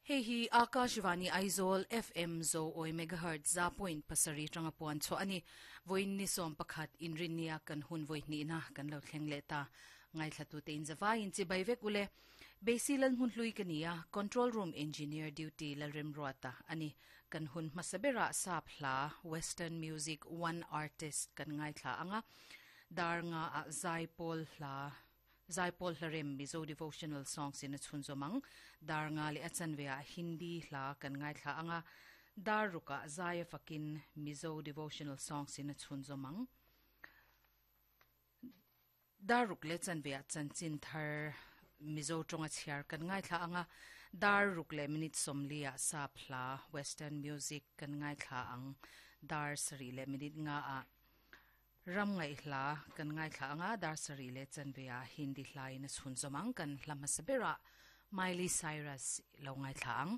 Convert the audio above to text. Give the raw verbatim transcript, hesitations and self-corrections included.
Hei hi Akashvani Aizawl F M Zo Oi Megahertz za point pasarih tanga puan chhuah a ni. Vawiin ni sawm pakhat inrinnia kan hun vawi hnihna kan lo thleng leh ta. Ngaithlatute in zavaiin chibai vek ule. Beisi lal hmun hlui ka ni a, Control Room Engineer Duty Lalremruata a ni. Kan hun hmasa berah sap hla, Western Music One Artist kan ngaithla ang a, dar nga ah zaipawl hla, Zaipawl hlarem Mizo Devotional Songs in a chhunzawm ang. Dar nga leh a chanve ah Hindi hla kan ngaithla ang a, dar ruk ah zai a fakin Mizo Devotional Songs in a chhunzawm ang. Dar ruk leh chanve ah chanchin thar Mizo tawnga chhiar kan ngaithla ang a, dar ruk leh minute sawmli ah sap hla, Western Music, kan ngaithla ang. Dar sarih leh minute nga ah Ram ngaih hla kan ngaithla anga dar sarih leh chanve ah Hindi hlain a chhunzawm ang. Kan hla hmasa berah Miley Cyrus lo ngaithla ang.